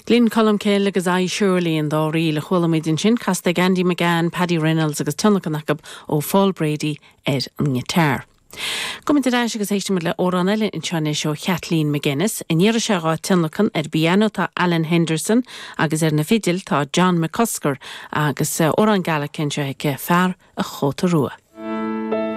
Gleann Cholm Cille agus I Surely an dá ríl a chuala muid ansin, casta ag Andy McGann, Paddy Reynolds agus tionlacan acu ó Phól Brady ar an ngiotár. Gabhfaidh muid ar ais agus éistfidh muid le amhrán eile anseo anois ó Chaitlín McGuinness. An iarraidh seo dhá tionlacan ar an bpianó tá Alan Henderson agus ar na fidil tá John McCusker agus amhrán Gaelic anseo aici, Fear a' Chóta Rua.